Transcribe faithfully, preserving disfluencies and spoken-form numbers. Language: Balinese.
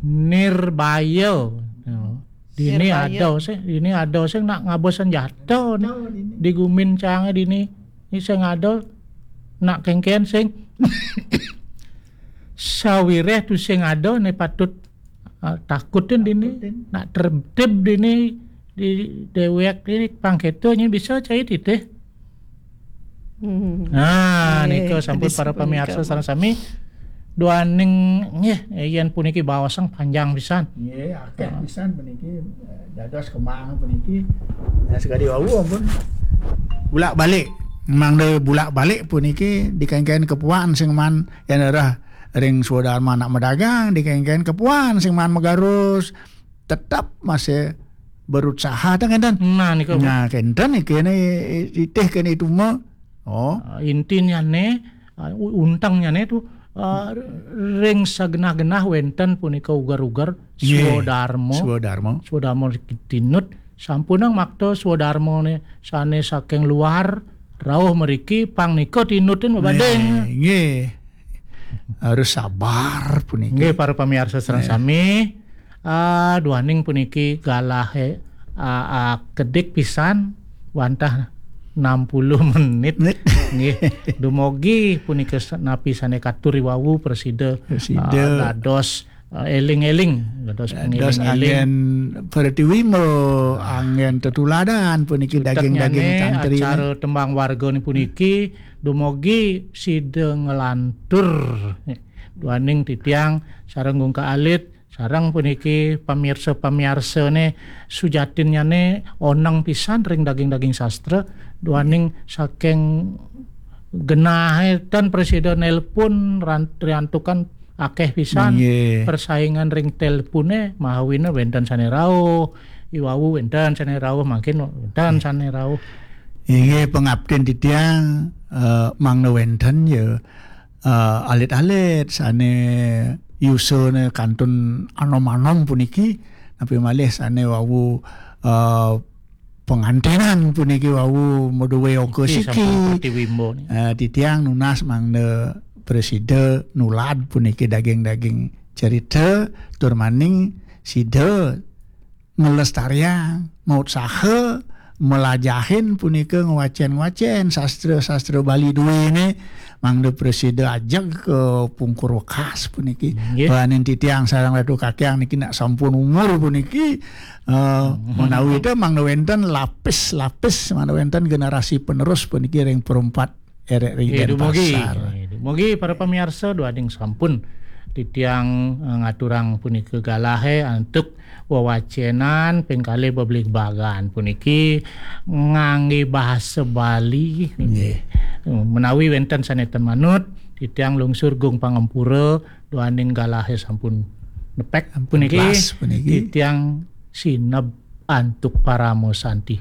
Nirbaya. Dini ada sih, dini ada sih nak ngaba senjata di gumin cangé dini. Ini sing ada nak kéngkén sing sawiréh tu sing ada né patut, ah, takutin dini. Nak tertib dini di déwék dini pangkéto nya bisa cai titih. Hmm. Nah, nika sampun para pamiarsa sareng sami. Duaning nggih, yén puniki baosang panjang pisan. Nggih, akéh pisan puniki, eh, dados kemang puniki. Nah, sekadi wau ampun bulak-balik. Mangda bulak-balik puniki dikéngkén kepuan sing man yén arah ring swadarma anak madagang, dikéngkén kepuan sing man magarus. Tetap masih berusaha ta kénten. Nah, nika. Nah, kénten iki né itih kéné itu mah. Oh. Ah, intinya né, ah, u-, untengnya né tu, ah, ring sagenah-genah wénten punika uger-uger swadarma. Swadarma. Swadarma tinut sampunang makta swadarma né sané saking luar rauh mriki pang nika tinutin babading. Nggih. Harus sabar puniki. Nggih, para pamiarsa sareng sami. Ah, duaning puniki galahé, ah, ah, kedik pisan wantah enam puluh menit. Nggih. Dumogi punika sa-, napi sané katur wau prasida, ah, dados, ah, éling-éling, dados pangéling-éling. Anggén pratiwimba, anggén tetuladan puniki daging-daging tantri. Acara tembang warga ni puniki dumogi sida nglantur. Duaning titiang sareng Gung Ka Alit, sareng puniki pamirsa-pamirsané sujatinnyané oneng pisan ring daging-daging sastra, duaning saking genahé tan prasida nelpon ran-, riantukan akéh pisan. Nggih. Persaingan ring telponé, mahawina wénten sané rauh, iwau wénten sané rauh, mangkin wénten sané rauh. Inggih, pangaptin titiang, eh, mangda wénten ya, eh, alit-alit sané yusana kantun anom-anom puniki, napi malih sané wau, eh, pangantenan puniki wau madué angka siki. Sampun pratiwimba ni. Eh, titiang nunas mangda prasida nulad puniki daging-daging cerita, tur maning sida nglestariang, mautsaha, malajahin punika ngwacén-ngwacén sastra-sastra Bali duéné, mangda prasida ajeg ka pungkur wekas puniki. Nggih. Duaning titiang sareng Ratu Kakiang niki nak sampun umur puniki, eh, menawi té mangda wénten lapis-lapis, mangda wénten generasi penerus puniki ring perempat érék ring Denpasar. Nggih, dumogi. Nggih, dumogi para pamiarsa duaning sampun titiang, eh, ngaturang punika galahé antuk wawacénan ping kalih bebligbagan puniki nganggé bahasa Bali. Nggih. Menawi wénten sané ten manut, titiang lungsur gung pangampura duaning galahé sampun nepek puniki. Titiang sineb antuk parama santi.